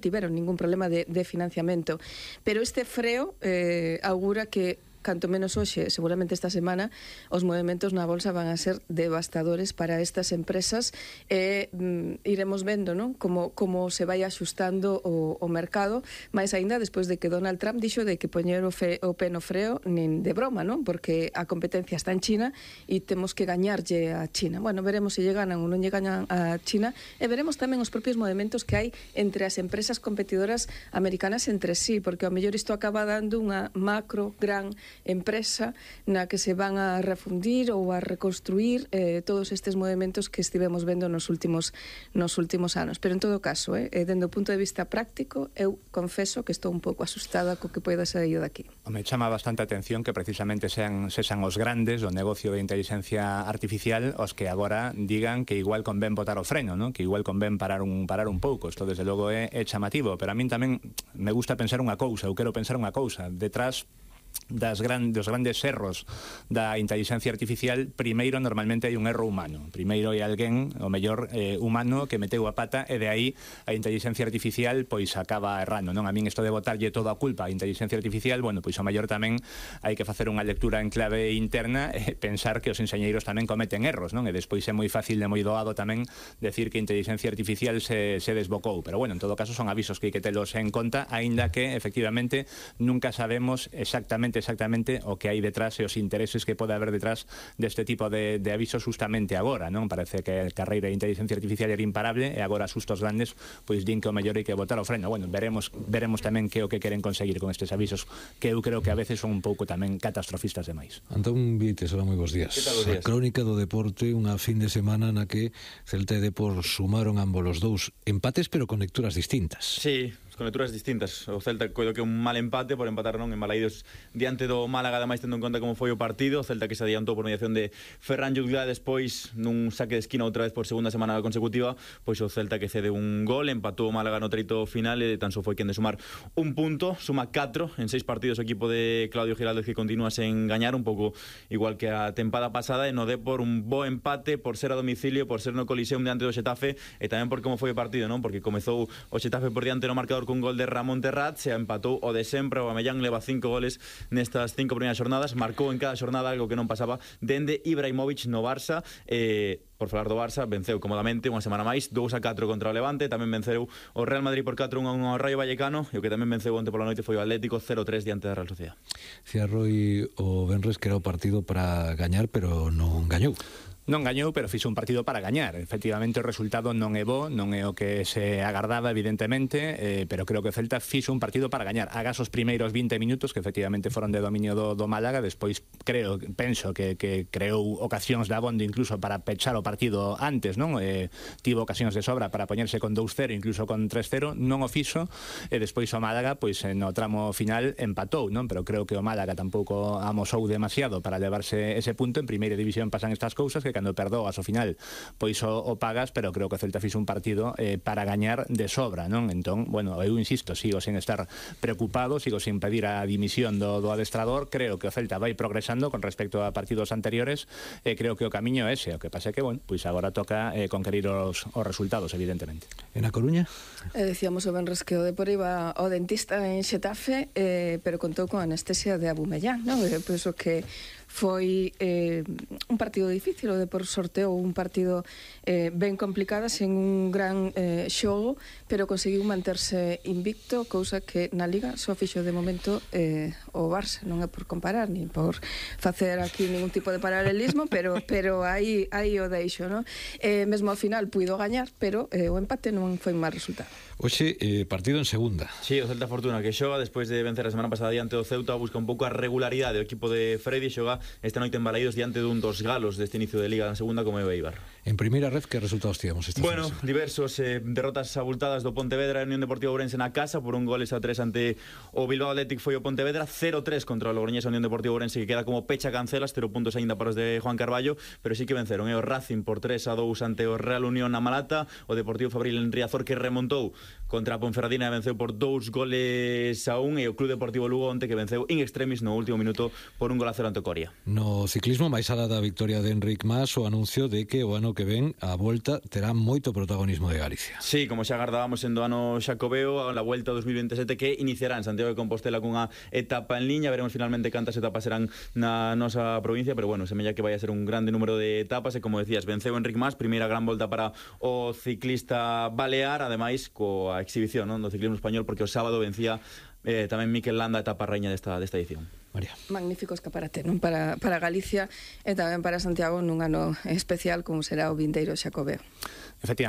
tiveron ningún problema de financiamento, pero este freo augura que canto menos hoxe, seguramente esta semana, os movimentos na bolsa van a ser devastadores para estas empresas e iremos vendo, non? Como se vai axustando o mercado, máis aínda despois de que Donald Trump dixo de que poñer o pé no freo nin de broma, non? Porque a competencia está en China e temos que gañarlle a China. Bueno, veremos se lle ganan ou non lle gañan a China e veremos tamén os propios movimentos que hai entre as empresas competidoras americanas entre sí, porque ao mellor isto acaba dando unha macro gran empresa na que se van a refundir ou a reconstruir todos estes movimentos que estivemos vendo nos últimos anos. Pero en todo caso, dende o punto de vista práctico, eu confeso que estou un pouco asustada co que poida sair daqui. Me chama bastante a atención que precisamente sexan os grandes do negocio de inteligencia artificial os que agora digan que igual convén botar o freno, ¿no? Que igual convén parar un pouco. Isto desde logo é chamativo, pero a min tamén me gusta pensar unha cousa, eu quero pensar unha cousa, detrás dos grandes erros da inteligencia artificial, primeiro normalmente hai un erro humano, primeiro hai alguén, o mellor humano, que meteu a pata e de aí a inteligencia artificial pois acaba errando, non? A min isto de botarlle toda a culpa á inteligencia artificial, bueno, pois o mellor tamén hai que facer unha lectura en clave interna e pensar que os enxeñeiros tamén cometen erros, non? E despois é moi fácil e moi doado tamén decir que a inteligencia artificial se desbocou, pero bueno, en todo caso son avisos que hai que telos en conta, aínda que efectivamente nunca sabemos exactamente o que hai detrás e os intereses que pode haber detrás deste tipo de avisos justamente agora, non? Parece que a carreira de inteligencia artificial era imparable e agora sustos grandes pois din que o mellor hai que botar o freno. Bueno, veremos tamén que o que queren conseguir con estes avisos, que eu creo que a veces son un pouco tamén catastrofistas demais. Antón Vites, hola, moi bons días. A crónica do deporte, unha fin de semana na que Celta e Depor sumaron ambos os dous empates, pero con lecturas distintas. Sí, con lecturas distintas. O Celta coido que un mal empate por empatar non en Balaídos diante do Málaga, ademais tendo en conta como foi o partido. O Celta que se adiantou por mediación de Ferran Llullá, despois nun saque de esquina outra vez por segunda semana consecutiva, pois o Celta que cede un gol, empatou o Málaga no treito final e tan só foi quen de sumar un punto, suma 4 en 6 partidos o equipo de Claudio Giraldez, que continúa sen gañar, un pouco igual que a tempada pasada. E no Depor un bo empate por ser a domicilio, por ser no Coliseum diante do Xetafe, e tamén por como foi o partido, non? Porque comezou o Xetafe por diante no marcador cun gol de Ramón Terrat, se empatou o de sempre. O Amellán leva 5 goles nestas 5 primeiras xornadas, marcou en cada xornada, algo que non pasaba dende Ibrahimovic no Barça. Por falar do Barça, venceu comodamente unha semana máis, 2-4 contra o Levante. Tamén venceu o Real Madrid por 4-1 ao Rayo Vallecano, e o que tamén venceu onte pola noite foi o Atlético 0-3 diante da Real Sociedad. Cía Roi o Benres que era o partido para gañar, pero non gañou. Non gañou, pero fixo un partido para gañar. Efectivamente, o resultado non é bo, non é o que se agardaba, evidentemente, pero creo que o Celta fixo un partido para gañar. Agás os primeiros 20 minutos, que efectivamente foron de dominio do Málaga, despois penso que creou ocasións de abondo incluso para pechar o partido antes, non? Tivo ocasións de sobra para poñerse con 2-0, incluso con 3-0, non o fixo, e despois o Málaga, pois no tramo final empatou, non? Pero creo que o Málaga tampouco amosou demasiado para levarse ese punto. En primeira división pasan estas cousas, que cando perdoas ao final pois o pagas, pero creo que o Celta fixo un partido para gañar de sobra, non? Entón, bueno, eu insisto, sigo sen estar preocupado, sigo sin pedir a dimisión do adestrador. Creo que o Celta vai progresando con respecto a partidos anteriores, e creo que o camiño é ese. O que pasa é que, bueno, pois agora toca conquerir os resultados, evidentemente. En A Coruña? Decíamos o Benres que o Depor iba ao dentista en Xetafe, pero contou con anestesia de Abumellán, non? Penso que foi un partido difícil. O Depor sorteou un partido ben complicado, sen un gran xogo, pero conseguiu manterse invicto, cousa que na Liga só fixo de momento o Barça. Non é por comparar, nin por facer aquí ningún tipo de paralelismo, pero aí o deixo, non? Mesmo ao final puido gañar, pero o empate non foi un mal resultado. Oxe, partido en segunda. Sí, o Celta Fortuna que xoga despois de vencer a semana pasada diante do Ceuta, busca un pouco a regularidade. O equipo de Freddy xoga esta noite en Balaídos diante dun dos galos deste inicio de Liga na segunda, como é o Eibar. En primeira red, que resultados tivemos esta semana? Bueno, diversos derrotas abultadas do Pontevedra e Unión Deportiva Ourense na casa por un goles a 3 ante o Bilbao Athletic. Foi o Pontevedra 0-3 contra o Logroñés. Unión Deportiva Ourense que queda como pecha cancelas, 0 puntos aínda para os de Juan Carballo, pero sí que venceron o Racing por 3-2 ante o Real Unión na Malata. O Deportivo Fabril en Riazor que remontou contra a Ponferradina e venceu por 2 goles a 1, e o Club Deportivo Lugo onte que venceu in extremis no último minuto por un gol a 0 ante o Coria. No ciclismo, máis alá da victoria de Enric Mas, o anuncio de que o ano que ven a volta terá moito protagonismo de Galicia. Sí, como xa agardábamos en do ano Xacobeo, a Vuelta 2027 que iniciará en Santiago de Compostela cunha etapa en liña. Veremos finalmente cantas etapas serán na nosa provincia, pero bueno, semella que vai a ser un grande número de etapas e como decías, venceu Enric Mas, primeira gran volta para o ciclista balear, ademais coa exhibición, non, do ciclismo español, porque o sábado vencía tamén Mikel Landa, etapa reña desta edición. María. Magnífico escaparate, non? Para Galicia e tamén para Santiago nun ano especial como será o vindeiro Xacobeo. Efectivamente.